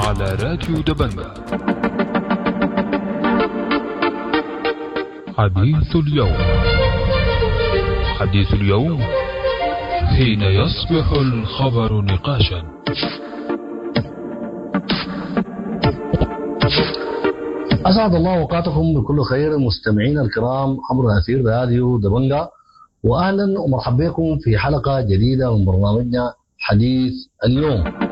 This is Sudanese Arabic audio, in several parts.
على راديو دبنجة. حديث اليوم، حديث اليوم حين يصبح الخبر نقاشا. أسعد الله أوقاتكم بكل خير مستمعينا الكرام عبر أثير راديو دبنجة، وأهلا ومرحبا بكم في حلقة جديدة من برنامجنا حديث اليوم.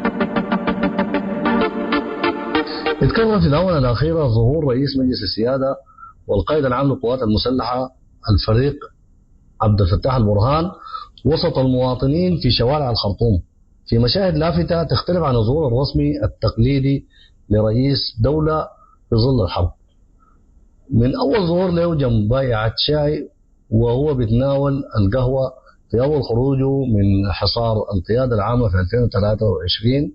اتكرر في الآونة الأخيرة ظهور رئيس مجلس السيادة والقائد العام للقوات المسلحة الفريق عبد الفتاح البرهان وسط المواطنين في شوارع الخرطوم في مشاهد لافتة تختلف عن الظهور الرسمي التقليدي لرئيس دولة في ظل الحرب. من أول ظهور له جنب بائعة شاي وهو بيتناول القهوة في أول خروجه من حصار القيادة العامة في 2023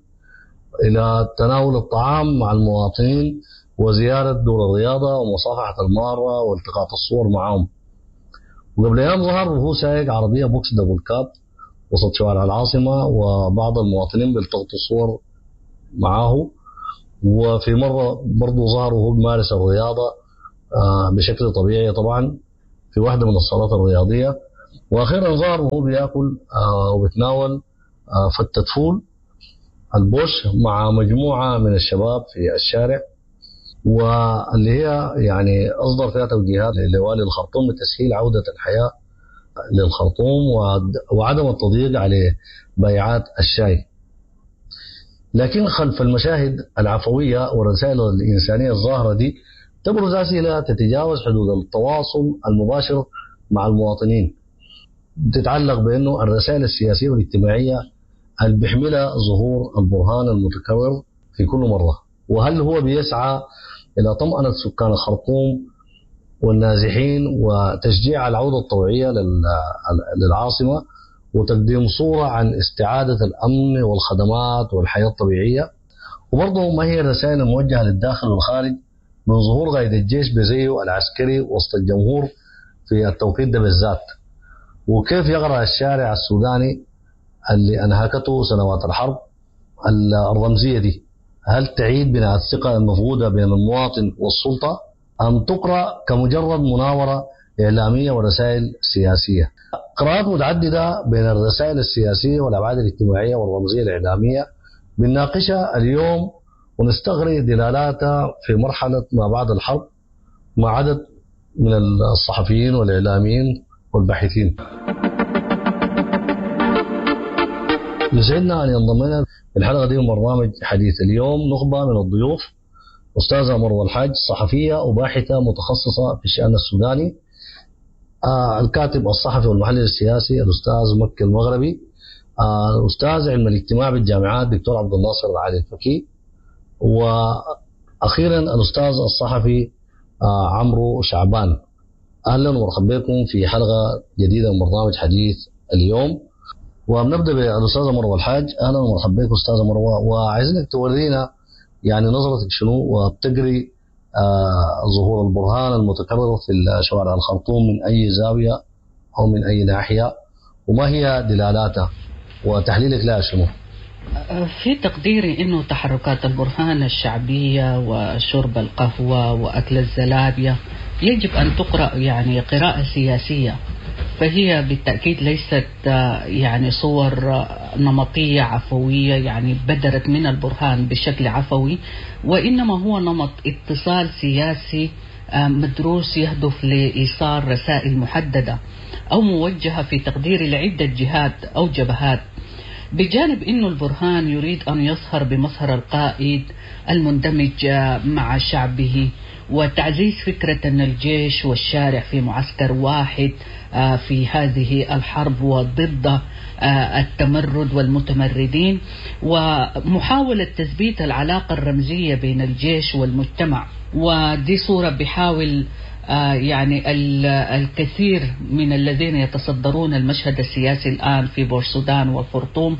إلى تناول الطعام مع المواطنين وزيارة دور الرياضة ومصافحة المارة والتقاط الصور معهم. وقبل أيام ظهر وهو سايق عربية بوكس double cab وسط شوارع العاصمة وبعض المواطنين بيلتقطوا الصور معاه. وفي مرة برضه ظهر وهو بيمارس الرياضة بشكل طبيعي طبعا في واحدة من الصالات الرياضية. وأخيرا ظهر وهو بياكل وبيتناول فتة فول البوش مع مجموعة من الشباب في الشارع، واللي هي يعني أصدر فيها توجيهات لوالي الخرطوم بتسهيل عودة الحياة للخرطوم وعدم التضييق على بيعات الشاي. لكن خلف المشاهد العفوية والرسائل الإنسانية الظاهرة دي تبرز أسئلة تتجاوز حدود التواصل المباشر مع المواطنين، تتعلق بأنه الرسائل السياسية والاجتماعية اللي بيحملها ظهور البرهان المتكرر في كل مرة، وهل هو بيسعى إلى طمأنة سكان الخرطوم والنازحين وتشجيع العودة الطوعية للعاصمة وتقديم صورة عن استعادة الأمن والخدمات والحياة الطبيعية؟ وبرضه ما هي الرسائل الموجهة للداخل والخارج من ظهور قائد الجيش بزيه العسكري وسط الجمهور في التوقيت ده بالذات؟ وكيف يقرأ الشارع السوداني اللي أنهكته سنوات الحرب الرمزية دي؟ هل تعيد بناء الثقة المفقودة بين المواطن والسلطة أم تقرأ كمجرد مناورة إعلامية ورسائل سياسية؟ قراءات متعددة بين الرسائل السياسية والأبعاد الاجتماعية والرمزية الإعلامية بنناقشها اليوم ونستغري دلالاتها في مرحلة ما بعد الحرب مع عدد من الصحفيين والإعلاميين والباحثين. يسعدنا أن ينضم لنا الحلقة دي من برنامج حديث اليوم نخبة من الضيوف: أستاذة مروة الحاج، صحفية وباحثة متخصصة في الشأن السوداني، الكاتب الصحفي والمحلل السياسي الأستاذ مكي المغربي، الأستاذ علم الاجتماع بالجامعات دكتور عبد الناصر العالي الفكي، وأخيرا الأستاذ الصحفي عمرو شعبان. أهلا ومرحبا بكم في حلقة جديدة من برنامج حديث اليوم. وبنبدأ بالأستاذة مروة الحاج. أهلا ومرحبا بك أستاذة مروة، وعايزينك تورينا يعني نظرتك شنو وبتقري ظهور البرهان المتكرر في شوارع الخرطوم من أي زاوية أو من أي ناحية، وما هي دلالاتها وتحليلك لها شنو؟ في تقديري أنه تحركات البرهان الشعبية وشرب القهوة وأكل الزلابية يجب أن تقرأ يعني قراءة سياسية، فهي بالتأكيد ليست يعني صور نمطية عفوية يعني بدرت من البرهان بشكل عفوي، وإنما هو نمط اتصال سياسي مدروس يهدف لإيصال رسائل محددة أو موجهة في تقديري لعدة جهات أو جبهات. بجانب أنه البرهان يريد أن يظهر بمظهر القائد المندمج مع شعبه وتعزيز فكرة أن الجيش والشارع في معسكر واحد في هذه الحرب وضد التمرد والمتمردين، ومحاولة تثبيت العلاقة الرمزية بين الجيش والمجتمع. ودي صورة بحاول يعني الكثير من الذين يتصدرون المشهد السياسي الآن في بورسودان والخرطوم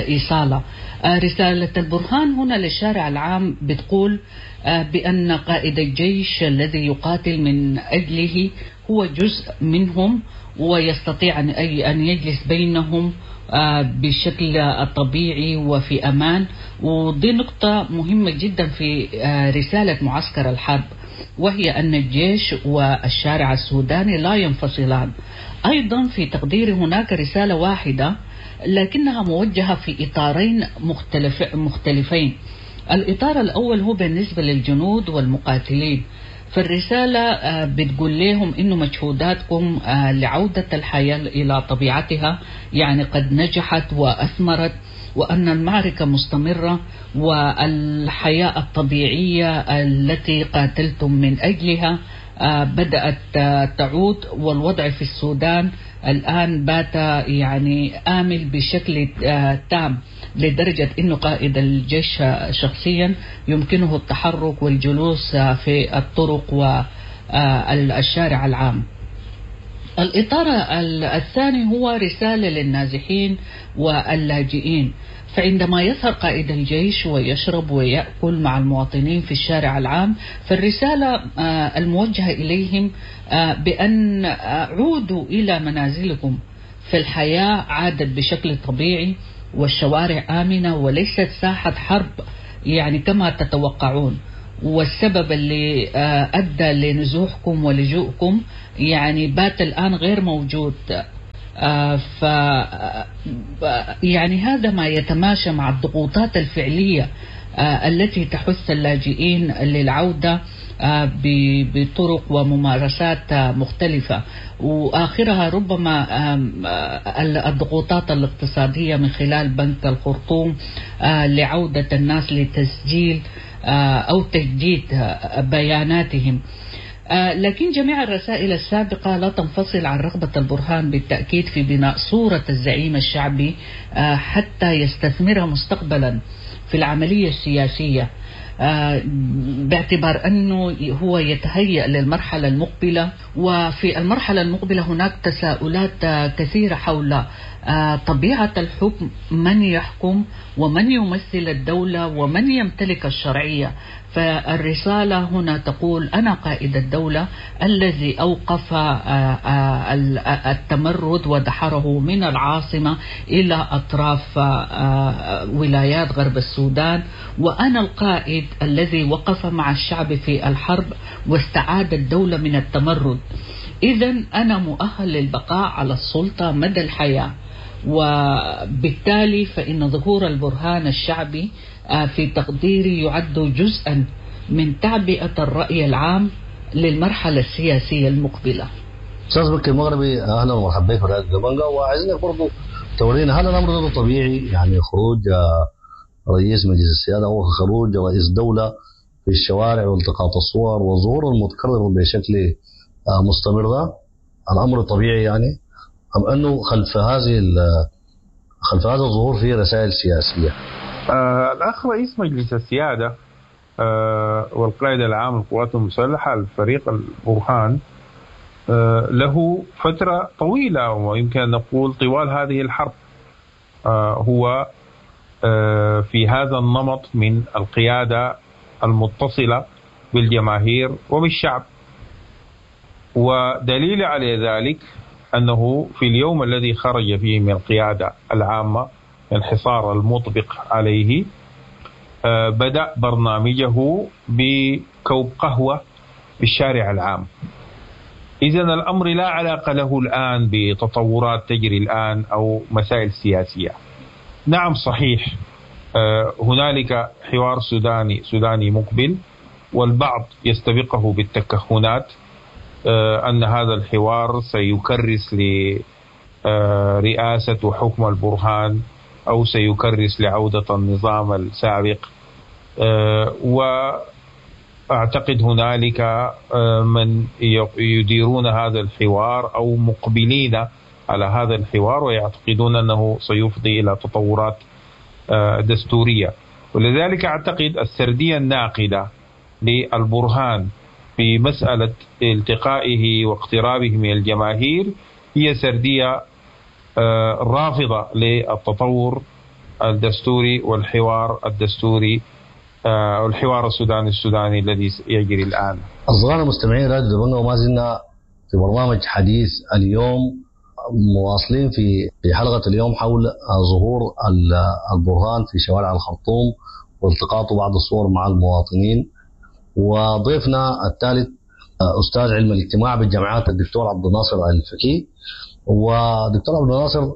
إيصالها. رسالة البرهان هنا للشارع العام بتقول بأن قائد الجيش الذي يقاتل من أجله هو جزء منهم ويستطيع أن يجلس بينهم بشكل طبيعي وفي أمان، ودي نقطة مهمة جدا في رسالة معسكر الحرب، وهي أن الجيش والشارع السوداني لا ينفصلان. أيضا في تقديري هناك رسالة واحدة لكنها موجهة في إطارين مختلفين. الإطار الأول هو بالنسبة للجنود والمقاتلين، فالرسالة بتقول لهم إنه مجهوداتكم لعودة الحياة إلى طبيعتها يعني قد نجحت وأثمرت، وأن المعركة مستمرة، والحياة الطبيعية التي قاتلتم من أجلها بدأت تعود، والوضع في السودان الآن بات يعني آمن بشكل تام، لدرجة أنه قائد الجيش شخصيا يمكنه التحرك والجلوس في الطرق والشارع العام. الإطار الثاني هو رسالة للنازحين واللاجئين، فعندما يظهر قائد الجيش ويشرب ويأكل مع المواطنين في الشارع العام، فالرسالة الموجهة إليهم بأن عودوا إلى منازلكم، فالحياة عادت بشكل طبيعي والشوارع آمنة وليست ساحة حرب يعني كما تتوقعون، والسبب اللي أدى لنزوحكم ولجوءكم يعني بات الآن غير موجود. ف يعني هذا ما يتماشى مع الضغوطات الفعلية التي تحث اللاجئين للعودة بطرق وممارسات مختلفة، وآخرها ربما الضغوطات الاقتصادية من خلال بنك الخرطوم لعودة الناس لتسجيل أو تجديد بياناتهم. لكن جميع الرسائل السابقة لا تنفصل عن رغبة البرهان بالتأكيد في بناء صورة الزعيم الشعبي حتى يستثمرها مستقبلا في العملية السياسية، باعتبار أنه هو يتهيأ للمرحلة المقبلة. وفي المرحلة المقبلة هناك تساؤلات كثيرة حول طبيعة الحكم، من يحكم ومن يمثل الدولة ومن يمتلك الشرعية. فالرسالة هنا تقول أنا قائد الدولة الذي أوقف التمرد ودحره من العاصمة إلى أطراف ولايات غرب السودان، وأنا القائد الذي وقف مع الشعب في الحرب واستعاد الدولة من التمرد. إذن أنا مؤهل للبقاء على السلطة مدى الحياة. وبالتالي فإن ظهور البرهان الشعبي في تقديري يعد جزءا من تعبئة الرأي العام للمرحلة السياسية المقبلة. أستاذ بكري المغربي، أهلا ومرحبا بك في راديو دبنجا، وعايزينك برضه تورينا هل الأمر ده طبيعي، يعني خروج رئيس مجلس السيادة أو خروج رئيس دولة في الشوارع والتقاط الصور والظهور المتكرر بشكل مستمر، ده الأمر طبيعي يعني، أم أنه خلف هذا الظهور فيه رسائل سياسية؟ الأخ رئيس مجلس السيادة والقائد العام للقوات المسلحة الفريق البرهان له فترة طويلة، ويمكن أن نقول طوال هذه الحرب هو في هذا النمط من القيادة المتصلة بالجماهير وبالشعب. ودليل على ذلك أنه في اليوم الذي خرج فيه من القيادة العامة الحصار المطبق عليه بدأ برنامجه بكوب قهوة بالشارع العام. إذن الأمر لا علاقة له الآن بتطورات تجري الآن أو مسائل سياسية. نعم صحيح هنالك حوار سوداني مقبل، والبعض يستبقه بالتكهنات أن هذا الحوار سيكرس لرئاسة وحكم البرهان أو سيكرس لعودة النظام السابق، وأعتقد هنالك من يديرون هذا الحوار أو مقبلين على هذا الحوار ويعتقدون أنه سيفضي إلى تطورات دستورية. ولذلك أعتقد السردية الناقدة للبرهان في مسألة التقائه واقترابه من الجماهير هي سردية رافضة للتطور الدستوري والحوار الدستوري والحوار السوداني السوداني الذي يجري الآن. أصدقائنا المستمعين راديو دبنجا، وما زلنا في برنامج حديث اليوم، مواصلين في حلقة اليوم حول ظهور البرهان في شوارع الخرطوم والتقاطه بعض الصور مع المواطنين. وضيفنا الثالث أستاذ علم الاجتماع بالجامعات الدكتور عبد الناصر الفكي. ودكتور عبد الناصر،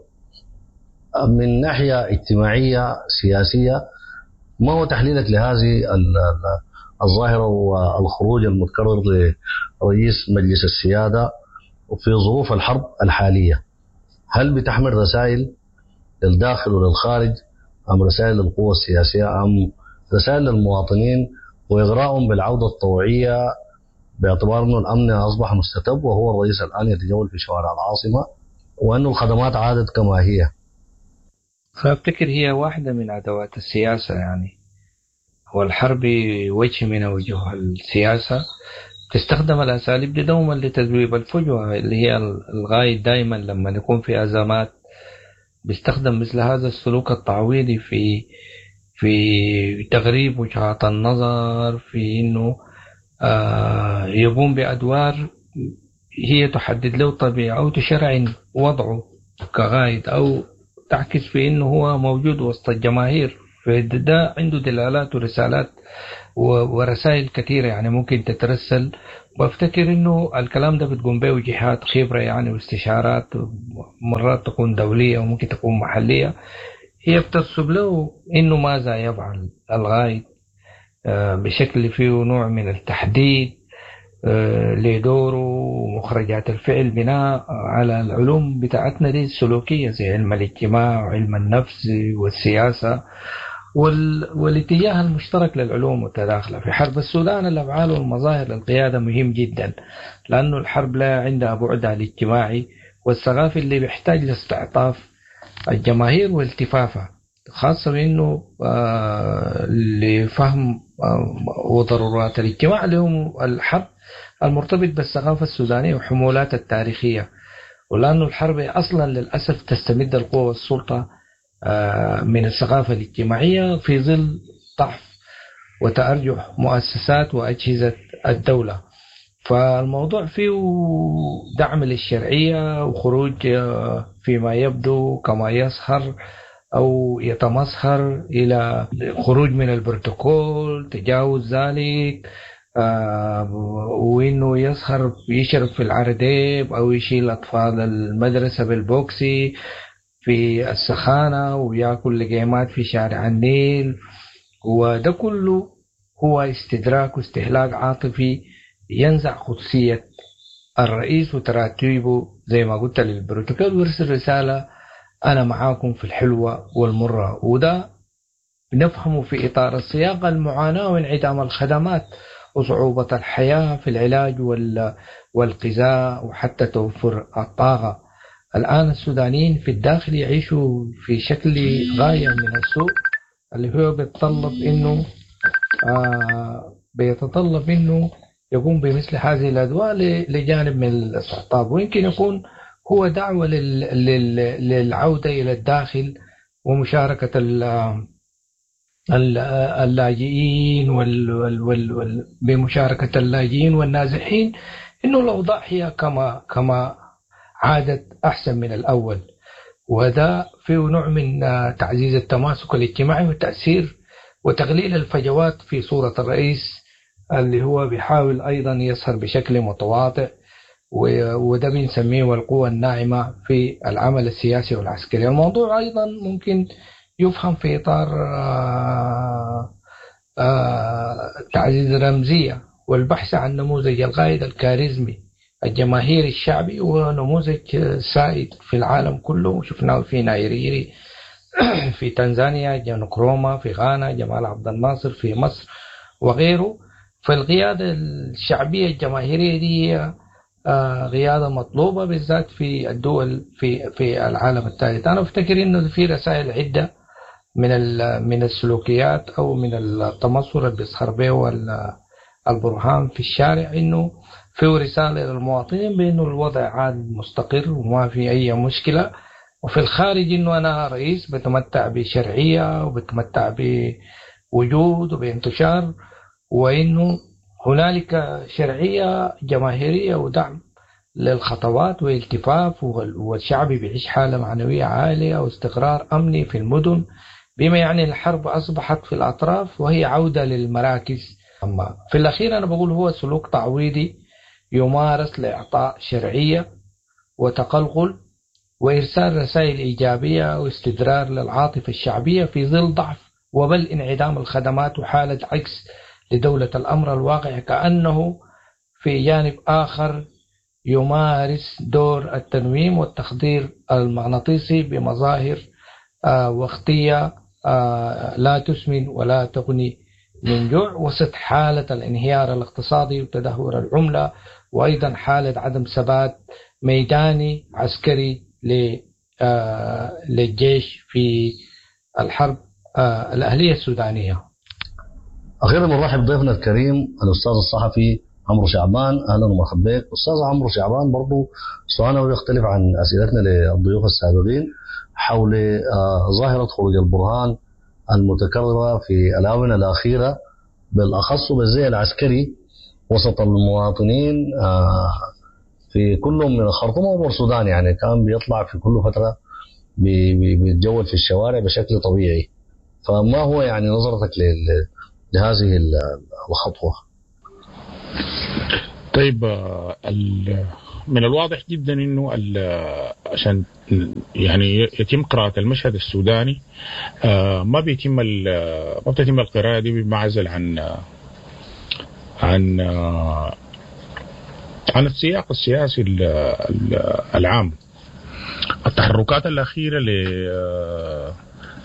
من ناحية اجتماعية سياسية، ما هو تحليلك لهذه الظاهرة والخروج المتكرر لرئيس مجلس السيادة في ظروف الحرب الحالية؟ هل بتحمل رسائل للداخل وللخارج أم رسائل للقوى السياسية أم رسائل للمواطنين وإغرائهم بالعودة الطوعية باعتبار أنه الأمن أصبح مستتب وهو الرئيس الآن يتجول في شوارع العاصمة وأن الخدمات عادت كما هي؟ فأفتكر هي واحدة من أدوات السياسة، يعني والحرب وجه من وجوه السياسة، تستخدم الأساليب دي دوما لتذويب الفجوة اللي هي الغاية. دائما لما يكون في أزمات بيستخدم مثل هذا السلوك التعويضي في تغريب وجهات النظر، في إنه يقوم بأدوار هي تحدد له طبيعة أو تشرعن وضعه كغايد أو تعكس في إنه هو موجود وسط الجماهير. فده عنده دلالات ورسالات ورسائل كثيرة يعني ممكن تترسل. وافتكر إنه الكلام ده بتقوم به جهات خبرة يعني واستشارات، مرات تكون دولية وممكن تكون محلية، هي بترسب له إنه ماذا يفعل الغايد بشكل فيه نوع من التحديد لدوره ومخرجات الفعل بناء على العلوم بتاعتنا دي السلوكية زي علم الاجتماع وعلم النفس والسياسة والاتجاه المشترك للعلوم المتداخلة. في حرب السودان الأفعال والمظاهر للقيادة مهم جدا، لأنه الحرب لا عندها بعدها الاجتماعي والثقافي اللي بيحتاج لاستعطاف الجماهير والتفافها، خاصة بأنه لفهم وضرورات الاجتماع لهم الحرب المرتبط بالثقافة السودانية وحمولات التاريخية، ولأنه الحرب أصلا للأسف تستمد القوة والسلطة من الثقافة الاجتماعية في ظل ضعف وتأرجح مؤسسات وأجهزة الدولة. فالموضوع فيه دعم للشرعية وخروج فيما يبدو كما يظهر أو يتمظهر إلى خروج من البروتوكول، تجاوز ذلك، وإنه يظهر يشرب في العرديب أو يشيل أطفال المدرسة بالبوكسي في السخانة ويأكل لقيمات في شارع النيل، وده كله هو استدراك واستهلاك عاطفي ينزع قدسية الرئيس وتراتيبه زي ما قلت للبروتوكول، ويرسل رسالة أنا معاكم في الحلوة والمرة. وده نفهمه في إطار السياق المعاناة وانعدام الخدمات وصعوبة الحياة في العلاج والغذاء وحتى توفر الطاقة. الآن السودانيين في الداخل يعيشوا في شكل غاية من السوء اللي هو بيتطلب إنه يقوم بمثل هذه الأدواء لجانب من الاستقطاب، ويمكن يكون هو دعوة للعودة إلى الداخل ومشاركة اللاجئين بمشاركة اللاجئين والنازحين، إنه الأوضاع هي كما عادت أحسن من الأول، وده فيه نوع من تعزيز التماسك الاجتماعي والتأثير وتقليل الفجوات في صورة الرئيس اللي هو بيحاول أيضا يظهر بشكل متواضع، وده بنسميه القوة الناعمة في العمل السياسي والعسكري. الموضوع أيضا ممكن يفهم في إطار تعزيز الرمزية والبحث عن نموذج القائد الكاريزمي الجماهيري الشعبي، ونموذج سائد في العالم كله، شفناه في نايريري في تنزانيا، جون كروما في غانا، جمال عبد الناصر في مصر وغيره. فالقيادة الشعبية الجماهيرية دي قيادة مطلوبة بالذات في الدول في العالم الثالث. أنا أفتكر إنه في رسائل عدة من السلوكيات أو من التمصر اللي بيظهر به البرهان في الشارع، إنه في رسالة للمواطنين بأنه الوضع عاد مستقر وما في أي مشكلة، وفي الخارج إنه أنا رئيس بتمتع بشرعية وبتمتع بوجود وبانتشار، وإنه هنالك شرعية جماهيرية ودعم للخطوات والتفاف، والشعب بيعيش حالة معنوية عالية واستقرار أمني في المدن، بما يعني الحرب أصبحت في الأطراف وهي عودة للمراكز. أما في الأخير أنا بقول هو سلوك تعويضي يمارس لإعطاء شرعية وتقلقل وإرسال رسائل إيجابية واستدرار للعاطفة الشعبية في ظل ضعف وبل انعدام الخدمات وحالة عكس لدولة الأمر الواقع، كأنه في جانب آخر يمارس دور التنويم والتخدير المغناطيسي بمظاهر وقتية لا تسمن ولا تغني من جوع، وسط حالة الانهيار الاقتصادي وتدهور العملة، وأيضا حالة عدم ثبات ميداني عسكري للجيش في الحرب الأهلية السودانية. أخيرا نرحب بضيفنا الكريم الأستاذ الصحفي عمرو شعبان. أهلا ومرحبا بك أستاذ عمرو شعبان. برضو سؤالنا يختلف عن أسئلتنا للضيوف السابقين حول ظاهرة خروج البرهان المتكررة في الآونة الأخيرة، بالأخص بالزي العسكري وسط المواطنين في كل من الخرطوم وبورسودان. يعني كان بيطلع في كل فترة بيتجول في الشوارع بشكل طبيعي، فما هو يعني نظرتك لهذه الخطوة؟ طيب، من الواضح جدا انه عشان يعني يتم قراءة المشهد السوداني ما بتتم القراءة دي بمعزل عن عن عن السياق السياسي العام. التحركات الأخيرة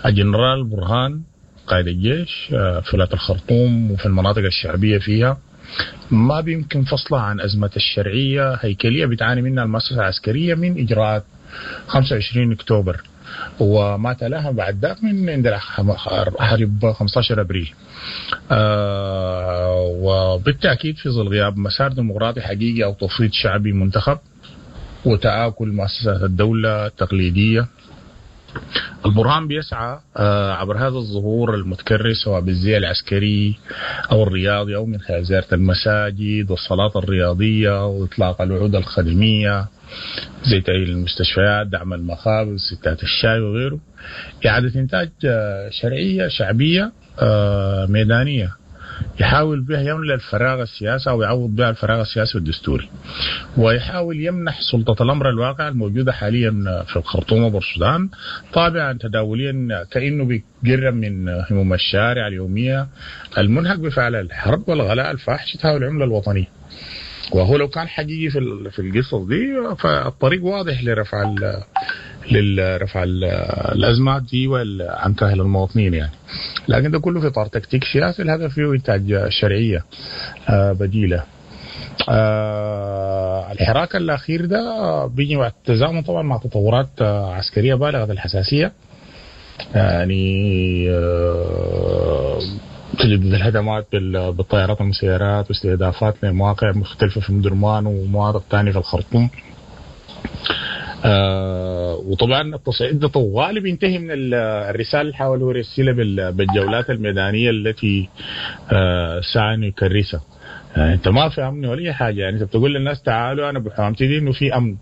للجنرال برهان قائد الجيش في ولاية الخرطوم وفي المناطق الشعبية فيها ما بيمكن فصلها عن أزمة الشرعية هيكلية بتعاني منها المؤسسة العسكرية من إجراءات 25 أكتوبر وما تلاها بعد ذاك من عند حرب 15 أبريل. وبالتأكيد في ظل غياب مسار ديمقراطي حقيقي أو تفويض شعبي منتخب وتآكل مؤسسات الدولة التقليدية، البرهان بيسعى عبر هذا الظهور المتكرر سواء بالزي العسكري أو الرياضي أو من خلال زيارة المساجد والصلاة الرياضية وإطلاق الوعود الخدمية زي تأهيل المستشفيات، دعم المخابز، ستات الشاي وغيره، إعادة إنتاج شرعية شعبية ميدانية يحاول بها يملأ الفراغ السياسي أو يعوض بها الفراغ السياسي والدستوري، ويحاول يمنح سلطة الأمر الواقع الموجودة حاليا في الخرطوم وبورسودان طابعا تداوليا كأنه بيقرب من هموم الشارع اليومية المنهك بفعل الحرب والغلاء الفاحش تهاوي العملة الوطنية. وهو لو كان حقيقي في القصص دي فالطريق واضح لرفع للرفع الازمات دي عن كاهل المواطنين يعني، لكن ده كله في اطار تكتيك سياسي الهدف فيه انتاج شرعية بديله. الحراك الاخير ده بيجي مع التزامن طبعا مع تطورات عسكرية بالغة الحساسية، يعني تجدد الهجمات بالطائرات والمسيرات واستهدافات لمواقع مختلفة في مدرمان ومواقع ثانية في الخرطوم. وطبعا التصعيد ده طوالي بينتهي من الرسالة اللي حاول هو يرسلها بالجولات الميدانية التي سعى انه يكرسها. يعني انت ما في امن ولا اي حاجة، يعني انت بتقول للناس تعالوا انا بحوامتي دي انه في امن،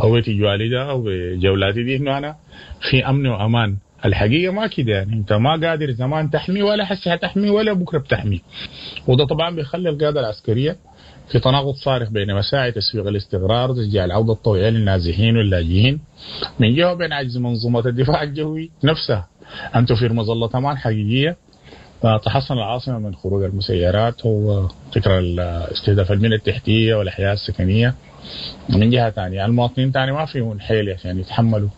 او تجوالي ده او بجولاتي دي انه انا في امن وامان. الحقيقة ما كده، يعني انت ما قادر زمان تحمي ولا حسي هتحمي ولا بكره بتحمي. وده طبعا بيخلي القيادة العسكرية في تناقض صارخ بين مساعي تسويق الاستقرار وتشجيع العودة الطوعيه للنازحين واللاجئين من جهة، وبين عجز منظومة الدفاع الجوي نفسها ان توفير مظلة امان حقيقية تحصن العاصمة من خروج المسيرات وتكرار استهداف البنية التحتية والاحياء السكنية من جهة ثانية. المواطنين ثاني ما فيهم حيل عشان يتحملوا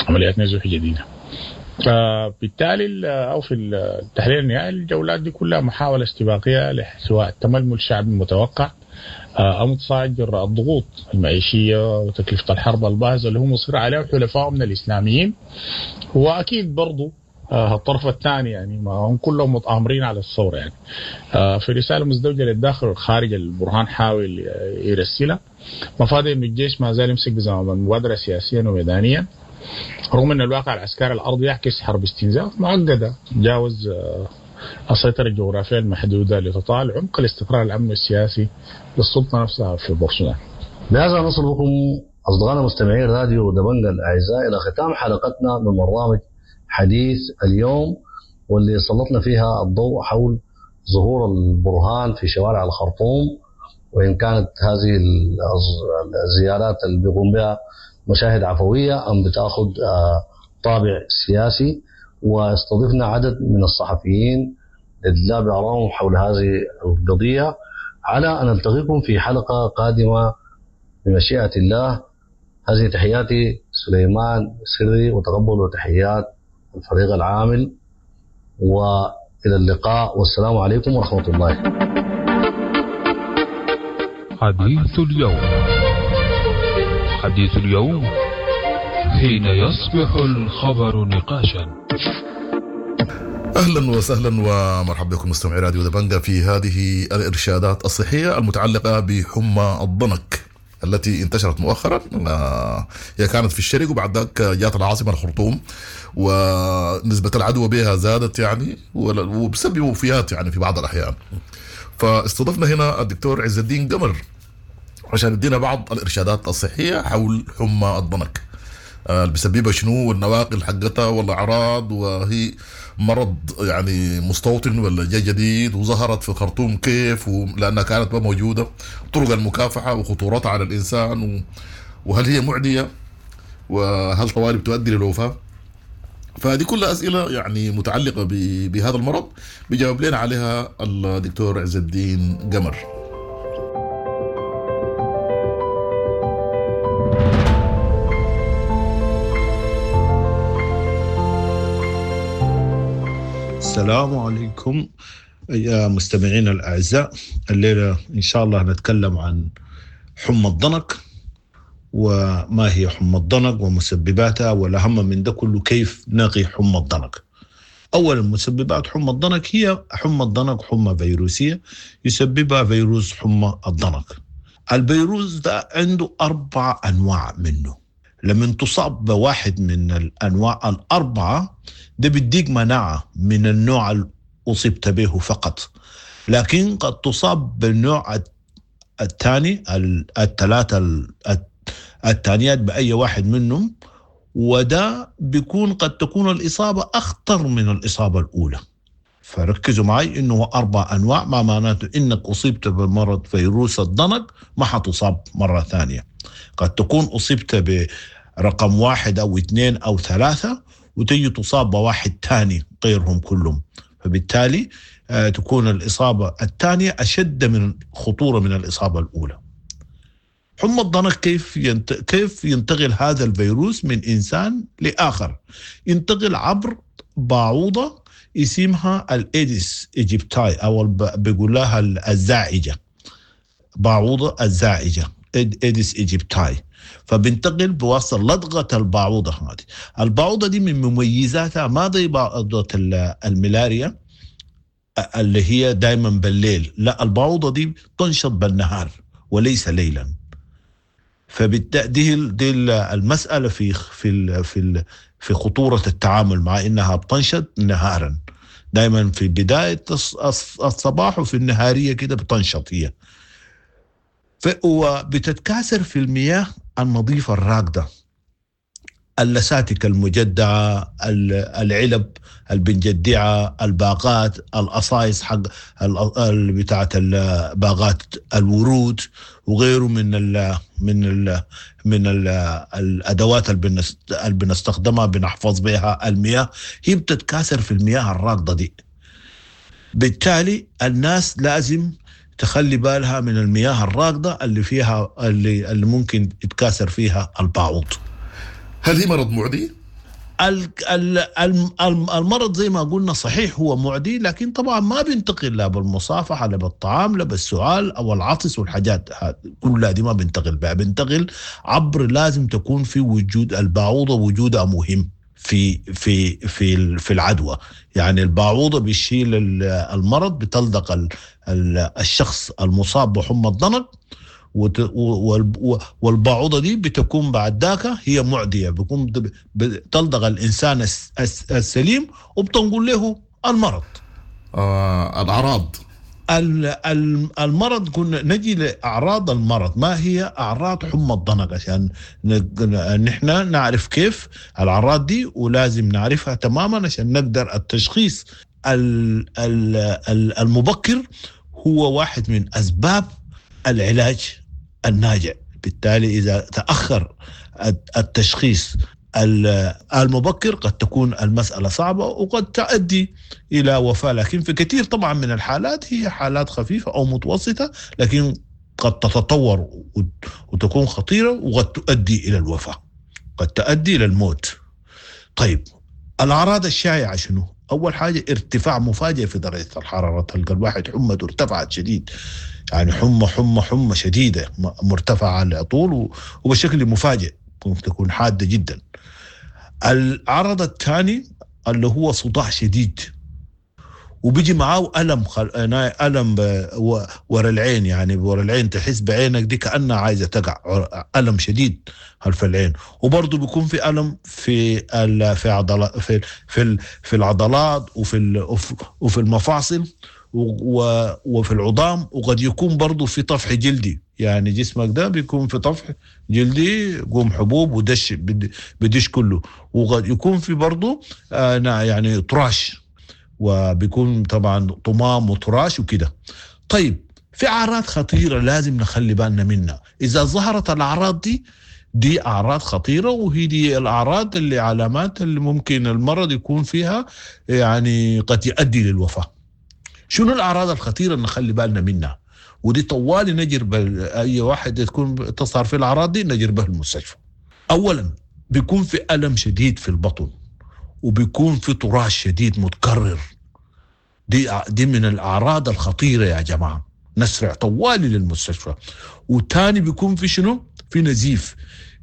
عمليات نزوح جديدة. فبالتالي او في التحليل النهائي الجولات دي كلها محاولة استباقية سواء تململ الشعب المتوقع او متصاعد جراء الضغوط المعيشية وتكلفة الحرب الباهظه اللي هم مصر عليها وحلفائهم من الاسلاميين، واكيد برضو الطرف الثاني يعني ما هم كلهم متآمرين على الثورة يعني. في رسالة مزدوجة للداخل والخارج البرهان حاول يرسلها، مفاد انه الجيش ما زال يمسك بزمام المبادرة سياسيا وميدانيا، رغم ان الواقع العسكري الارضي يعكس حرب استنزاف معقدة تجاوز السيطرة الجغرافية المحدودة لتطال عمق الاستقرار الامني السياسي للسلطة نفسها في بورسودان. بهذا نصل بكم أصدقائنا مستمعين راديو دبنجا الأعزاء إلى ختام حلقتنا من برنامج حديث اليوم، واللي سلطنا فيها الضوء حول ظهور البرهان في شوارع الخرطوم، وإن كانت هذه الزيارات اللي بيقوم بها مشاهد عفوية أم بتأخذ طابع سياسي. واستضفنا عدد من الصحفيين للإدلاء بآرائهم حول هذه القضية، على أن نلتقيكم في حلقة قادمة بمشيئة الله. هذه تحياتي سليمان سري، وتقبلوا تحيات الفريق العامل، وإلى اللقاء والسلام عليكم ورحمة الله. حديث اليوم، حديث اليوم حين يصبح الخبر نقاشا. اهلا وسهلا ومرحبا بكم مستمعي راديو دبنجا في هذه الارشادات الصحية المتعلقة بحمى الضنك التي انتشرت مؤخرا. هي كانت في الشرق وبعد ذاك جات العاصمة الخرطوم، ونسبه العدوى بها زادت يعني وبسبب وفيات يعني في بعض الاحيان. فاستضفنا هنا الدكتور عز الدين قمر عشان يدينا بعض الارشادات الصحية حول حمى الضنك، اللي بيسببها شنو والنواقل حقتها والاعراض، وهي مرض يعني مستوطن ولا جاي جديد، وظهرت في الخرطوم كيف لانها كانت ما موجودة، طرق المكافحه وخطورتها على الانسان، وهل هي معدية، وهل طوالي بتؤدي للوفاه. فهذه كلها اسئلة يعني متعلقه بهذا المرض بيجاوب لنا عليها الدكتور عز الدين قمر. السلام عليكم يا مستمعين الأعزاء. الليلة إن شاء الله نتكلم عن حمى الضنك، وما هي حمى الضنك ومسبباتها، والأهم من ده كله كيف نقي حمى الضنك. أولا، مسببات حمى الضنك هي حمى الضنك حمى فيروسية يسببها فيروس حمى الضنك. الفيروس ده عنده 4 أنواع منه، لما تصاب بواحد من الأنواع 4 ده بيديك مناعة من النوع اللي أصبت به فقط، لكن قد تصاب بالنوع الثاني، الثلاثة الثانيات بأي واحد منهم، وده بيكون قد تكون الإصابة أخطر من الإصابة الأولى. فركزوا معي إنه 4 أنواع، ما معناته إنك أصبت بمرض فيروس الضنك ما حتصاب مرة ثانية. قد تكون أصبت برقم 1 أو 2 أو 3 وتجي تصاب بواحد ثاني غيرهم كلهم، فبالتالي تكون الإصابة الثانية أشد من خطورة من الإصابة الأولى. حمى الضنك كيف ينتقل هذا الفيروس من إنسان لآخر؟ ينتقل عبر بعوضة اسمها ال Aedes aegypti، أو بيقول لها الزاعجة، بعوضة الزاعجة Aedes aegypti. فبنتقل بواسطة لدغة البعوضة هذه. البعوضة دي من مميزاتها ما زي بعوضة الملاريا اللي هي دايما بالليل، لا، البعوضة دي تنشط بالنهار وليس ليلا. فبالتالي دي المسألة في في في في خطورة التعامل مع انها بتنشط نهارا، دايما في بداية الصباح وفي النهارية كده بتنشط هي. وبتتكاثر في المياه النظيفة الراكدة، اللساتك المجدعة، العلب البنجدعة، الباقات، القصايص حق بتاعة باغات الورود وغيره من ال من ال من ال الأدوات اللي بنستخدمها بنحفظ بها المياه، هي بتتكاثر في المياه الراكدة دي. بالتالي الناس لازم تخلي بالها من المياه الراكدة اللي فيها اللي ممكن يتكاثر فيها البعوض. هل هي مرض معدي؟ المرض زي ما قلنا صحيح هو معدي، لكن طبعا ما بينتقل لا بالمصافحة لا بالطعام لا بالسعال أو العطس والحاجات كلها دي ما بينتقل بها. بينتقل عبر، لازم تكون في وجود البعوضة، وجودها مهم في في في في العدوى. يعني البعوضة بيشيل المرض، بتلدق الشخص المصاب بحمى الضنك، والبعوضة دي بتكون بعد ذاك هي معدية، بيكون بتلدغ الإنسان السليم وبتنقل له المرض. الأعراض المرض قلنا نجي لاعراض المرض. ما هي اعراض حمى الضنك عشان نحن نعرف كيف الاعراض دي، ولازم نعرفها تماما عشان نقدر التشخيص المبكر هو واحد من اسباب العلاج الناجع. بالتالي اذا تاخر التشخيص المبكر قد تكون المسألة صعبة وقد تؤدي إلى وفاة، لكن في كثير طبعا من الحالات هي حالات خفيفة أو متوسطة، لكن قد تتطور وتكون خطيرة وقد تؤدي إلى الوفاة، قد تؤدي إلى الموت. طيب الأعراض الشائعة شنو؟ أول حاجة ارتفاع مفاجئ في درجة الحرارة، تلقى الواحد حمته ارتفعت شديد، يعني حمى حمى حمى شديدة مرتفعة على طول وبشكل مفاجئ، ممكن تكون حادة جدا. العرض الثاني اللي هو صداع شديد، وبيجي معاه ألم ألم ورا العين، يعني ورا العين تحس بعينك دي كأنها عايزة تقع، ألم شديد خلف العين. وبرضه بيكون في ألم في في عضلات، في في في العضلات وفي المفاصل وفي العظام، وقد يكون برضه في طفح جلدي، يعني جسمك ده بيكون في طفح جلدي، قوم حبوب ودش بدش كله، وقد يكون في برضه يعني طراش، وبيكون طبعا طمام وطراش وكده. طيب في أعراض خطيرة لازم نخلي بالنا منها، إذا ظهرت الأعراض دي أعراض خطيرة، وهي دي الأعراض اللي علامات اللي ممكن المرض يكون فيها يعني قد يؤدي للوفاة. شنو الأعراض الخطيرة اللي نخلي بالنا منها؟ ودي طوالي نجر أي واحد تكون تظهر في الأعراض دي نجر به المستشفى. أولا بيكون في ألم شديد في البطن، وبيكون في طراش شديد متكرر، دي من الأعراض الخطيرة يا جماعة، نسرع طوالي للمستشفى. وتاني بيكون في شنو؟ في نزيف.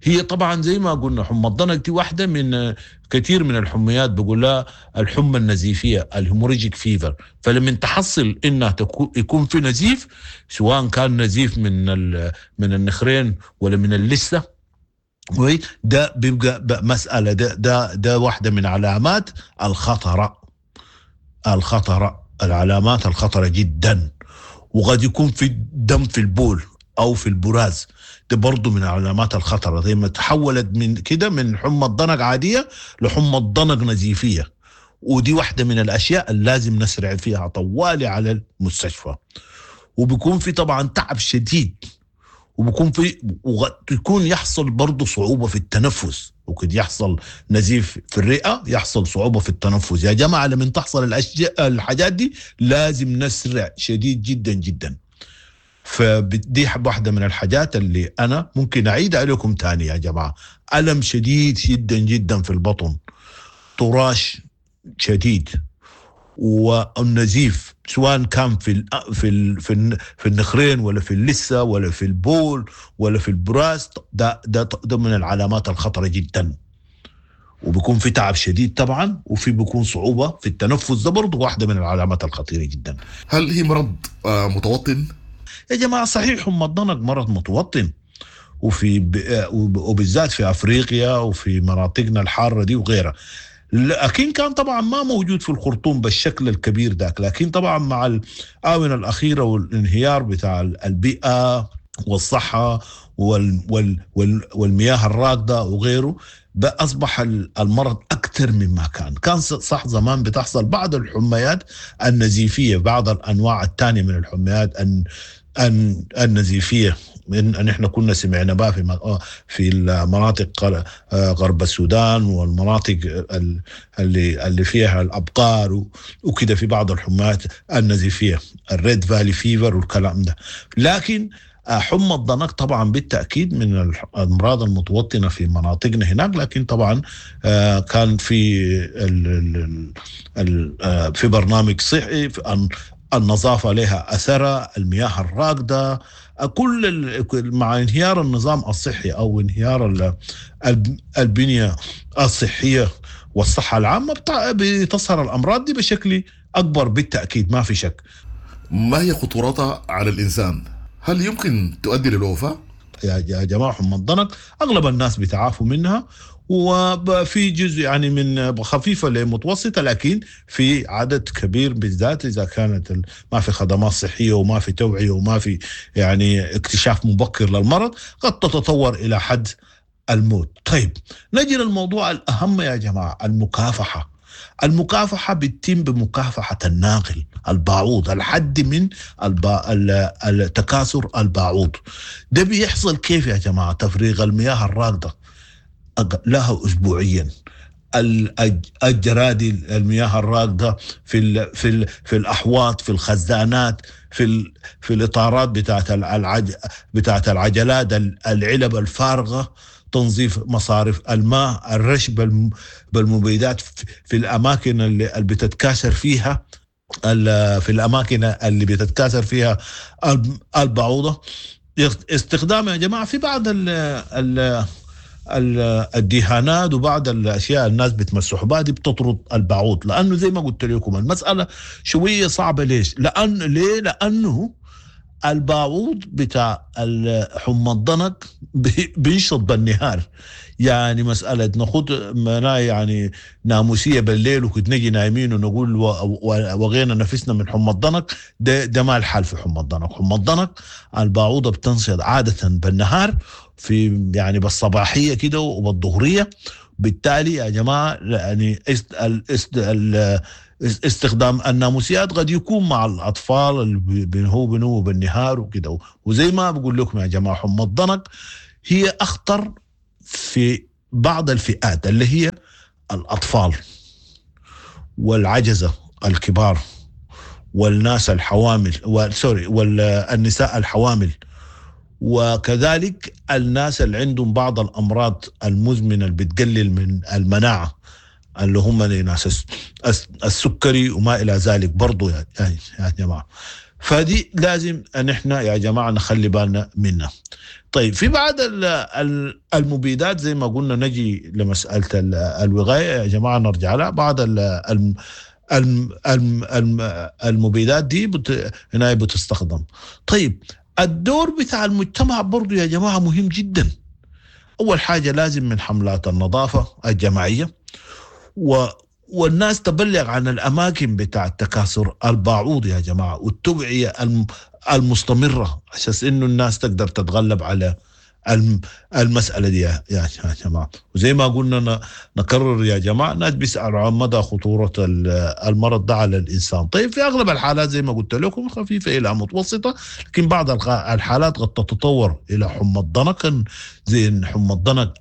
هي طبعا زي ما قلنا حمى الضنك دي واحدة من كثير من الحميات، بقول لها الحمى النزيفية ال hemorrhagic fever. فلما تحصل انها يكون في نزيف، سواء كان نزيف من النخرين ولا من اللثة، ده بيبقى مسألة، ده واحدة من علامات الخطرة، العلامات الخطرة جدا. وقد يكون في دم في البول أو في البراز، ده برضو من علامات الخطرة. زي ما تحولت من كده من حمى الضنك عادية لحمى الضنك نزيفية، ودي واحدة من الأشياء اللي لازم نسرع فيها طوالي على المستشفى. وبيكون في طبعا تعب شديد، وبيكون في ويكون يحصل برضو صعوبة في التنفس، وقد يحصل نزيف في الرئة، يحصل صعوبة في التنفس. يا جماعة لما تحصل الحاجات دي لازم نسرع شديد جدا جدا. فدي واحدة من الحاجات اللي أنا ممكن أعيد عليكم تاني يا جماعة. ألم شديد جدا جدا في البطن، طراش شديد، والنزيف سواء كان في في في في النخرين ولا في اللثة ولا في البول ولا في البراز، ده ده ده من العلامات الخطرة جدا. وبيكون في تعب شديد طبعا، وفي بيكون صعوبة في التنفس، ده برضه واحدة من العلامات الخطيرة جدا. هل هي مرض متوطن؟ يا جماعة صحيح حمى الضنك مرض متوطن، وفي وبالذات في افريقيا وفي مناطقنا الحارة دي وغيرها، لكن كان طبعا ما موجود في الخرطوم بالشكل الكبير ذاك. لكن طبعا مع الآونة الأخيرة والانهيار بتاع البيئة والصحة والمياه الراكدة وغيره، أصبح المرض أكثر مما كان. كان صح زمان بتحصل بعض الحميات النزيفية، بعض الأنواع الثانية من الحميات النزيفية، من نحن كنا سمعنا بها في المناطق غرب السودان والمناطق اللي فيها الابقار وكده، في بعض الحميات النزيفيه ال Red Valley fever والكلام ده. لكن حمى الضنك طبعا بالتاكيد من الامراض المتوطنه في مناطقنا هناك، لكن طبعا كان في في برنامج صحي، النظافة لها اثرها، المياه الراكده، كل مع انهيار النظام الصحي او انهيار البنية الصحية والصحة العامة بتظهر الامراض دي بشكل اكبر بالتاكيد، ما في شك. ما هي خطورتها على الانسان؟ هل يمكن تؤدي للوفاه؟ يا جماعة حمى الضنك اغلب الناس بيتعافوا منها، وفي جزء يعني من خفيفة لمتوسطة، لكن في عدد كبير بالذات إذا كانت ما في خدمات صحية وما في توعية وما في يعني اكتشاف مبكر للمرض، قد تتطور إلى حد الموت. طيب نجي للموضوع الأهم يا جماعة، المكافحة. المكافحة بتتم بمكافحة الناقل الباعوض، الحد من التكاثر الباعوض. ده بيحصل كيف يا جماعة؟ تفريغ المياه الراكدة لها أسبوعيا، الجرادي المياه الراكدة في ال في ال في الأحواض، في الخزانات، في الإطارات بتاعت العجلات، العلب الفارغة، تنظيف مصارف الماء، الرش بالمبيدات في الأماكن اللي بتتكاثر فيها، في الأماكن اللي بتتكاثر فيها البعوضة. استخدام يا جماعة في بعض الدهانات وبعض الأشياء الناس بتمسح بها دي بتطرد البعوض، لأنه زي ما قلت لكم المسألة شوية صعبة. ليش؟ ليه؟ لأنه البعوض بتاع حمى الضنك بينشط بالنهار، يعني مسألة ناخد يعني ناموسية بالليل وكنت نجي نايمين ونقول وغينا نفسنا من حمى الضنك، ده ما الحال في حمى الضنك. حمى الضنك البعوضة بتنشط عادة بالنهار، في يعني بالصباحية كده وبالظهرية. بالتالي يا جماعة يعني استخدام الناموسيات قد يكون مع الأطفال اللي بنهو بالنهار وكده. وزي ما بقول لكم يا جماعة حمى الضنك هي أخطر في بعض الفئات اللي هي الأطفال والعجزة الكبار والناس الحوامل والنساء الحوامل، وكذلك الناس اللي عندهم بعض الأمراض المزمنة اللي بتقلل من المناعة اللي هم ناس السكري وما إلى ذلك برضو يا جماعة. فدي لازم أن احنا يا جماعة نخلي بالنا منها. طيب في بعض المبيدات زي ما قلنا، نجي لمسألة الوقاية يا جماعة نرجع لها. بعض المبيدات دي هنا بتستخدم. طيب الدور بتاع المجتمع برضو يا جماعة مهم جدا. أول حاجة لازم من حملات النظافة الجماعية، والناس تبلغ عن الأماكن بتاع التكاثر الباعوض يا جماعة، والتوعية المستمرة عشان إنه الناس تقدر تتغلب على المسألة دي يا جماعة. وزي ما قلنا نكرر يا جماعة، الناس بيسألوا عن مدى خطورة المرض ده على الإنسان. طيب في أغلب الحالات زي ما قلت لكم خفيفة إلى متوسطة، لكن بعض الحالات قد تتطور إلى حمى الضنك، زي حمى الضنك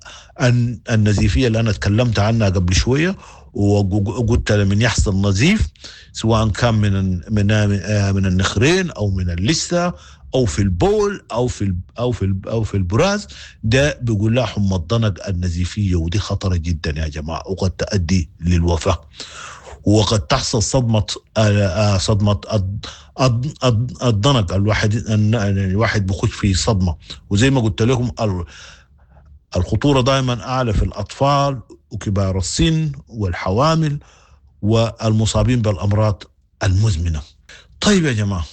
النزيفية اللي أنا تكلمت عنها قبل شوية، وقلت لمن يحصل نزيف سواء كان من من من النخرين أو من اللثة أو في البول أو في أو في أو في البراز، ده بيقول لها حمى الضنك النزيفية، ودي خطرة جدا يا جماعة وقد تؤدي للوفاة، وقد تحصل صدمة الضنك. الواحد بخش في صدمة، وزي ما قلت لكم الخطورة دائما أعلى في الأطفال وكبار السن والحوامل والمصابين بالأمراض المزمنة. طيب يا جماعة،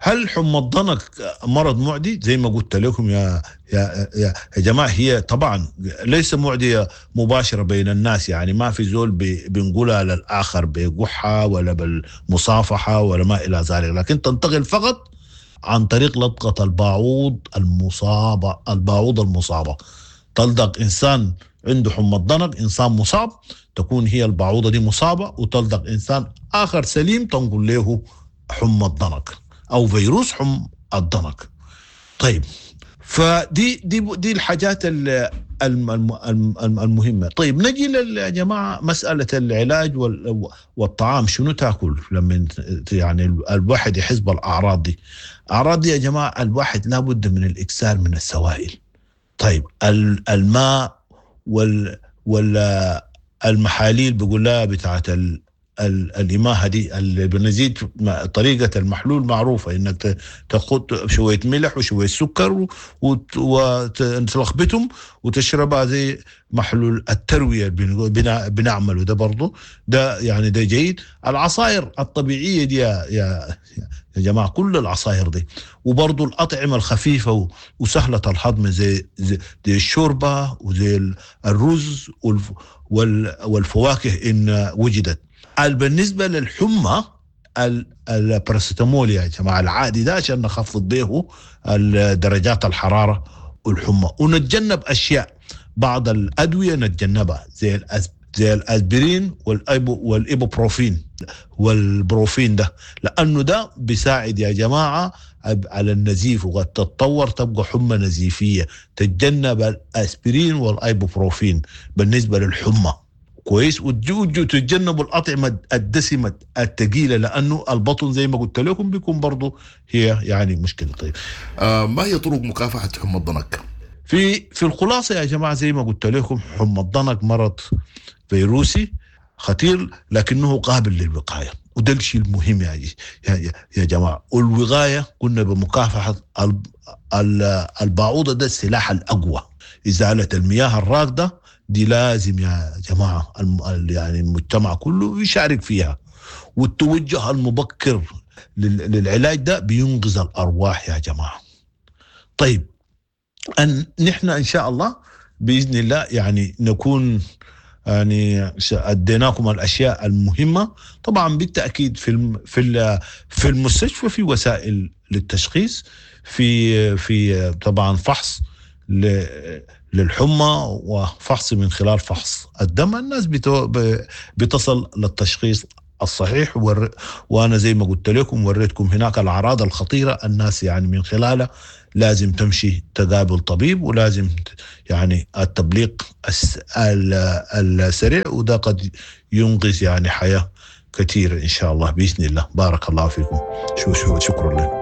هل حمى الضنك مرض معدي؟ زي ما قلت لكم يا يا يا جماعة، هي طبعا ليس معدية مباشرة بين الناس، يعني ما في زول بنقولها للآخر بقحة ولا بالمصافحة ولا ما إلى ذلك، لكن تنتقل فقط عن طريق لدغة الباعوض المصابة. الباعوض المصابة تلدغ إنسان عنده حمى الضنك، إنسان مصاب، تكون هي الباعوضة دي مصابة، وتلدغ إنسان آخر سليم تنقل له حمى الضنك أو فيروس حمى الضنك. طيب فدي دي دي الحاجات المهمة. طيب نجي يا جماعة مسألة العلاج والطعام، شنو تاكل لما يعني الواحد يحس بالأعراض دي؟ أعراض دي يا جماعة الواحد لابد من الإكثار من السوائل. طيب الماء والمحاليل بيقول لها بتاعت الإماهة دي اللي بنزيد طريقة المحلول معروفة، إنك تاخد شوية ملح وشوية سكر وتلخبطهم وتشربها زي محلول التروية بنعمله ده برضو، ده يعني ده جيد. العصائر الطبيعية دي يا جماعة، كل العصائر دي، وبرضو الأطعمة الخفيفة وسهلة الهضم زي الشوربة وزي الرز والفواكه إن وجدت. بالنسبة للحمى الباراسيتامول يا جماعة العادي ده عشان نخفض به درجات الحرارة والحمى، ونتجنب أشياء، بعض الأدوية نتجنبها زي الأسبرين والإيبوبروفين والبروفين ده، لأنه ده بيساعد يا جماعة على النزيف، وقد تتطور تبقى حمى نزيفية. تتجنب الأسبرين والإيبوبروفين بالنسبة للحمى، كويس. وتتجنبوا الأطعمة الدسمة الثقيلة، لأنه البطن زي ما قلت لكم بيكون برضو هي يعني مشكلة. طيب ما هي طرق مكافحة حمى الضنك؟ في الخلاصة يا جماعة زي ما قلت لكم، حمى الضنك مرض فيروسي خطير لكنه قابل للوقاية، وده الشيء المهم يا جماعة. والوقاية قلنا بمكافحة البعوضة، ده السلاح الأقوى. إزالة المياه الراكدة دي لازم يا جماعة يعني المجتمع كله يشارك فيها، والتوجه المبكر للعلاج ده بينقذ الأرواح يا جماعة. طيب أن نحن إن شاء الله بإذن الله يعني نكون يعني أديناكم الأشياء المهمة. طبعا بالتأكيد في المستشفى في وسائل للتشخيص، في طبعا فحص للحمى وفحص من خلال فحص الدم، الناس بتصل للتشخيص الصحيح. وأنا زي ما قلت لكم وريتكم هناك الأعراض الخطيرة، الناس يعني من خلالها لازم تمشي تقابل طبيب، ولازم يعني التبليغ السريع، وده قد ينقذ يعني حياة كثيرة إن شاء الله بإذن الله. بارك الله فيكم، شكرا لكم.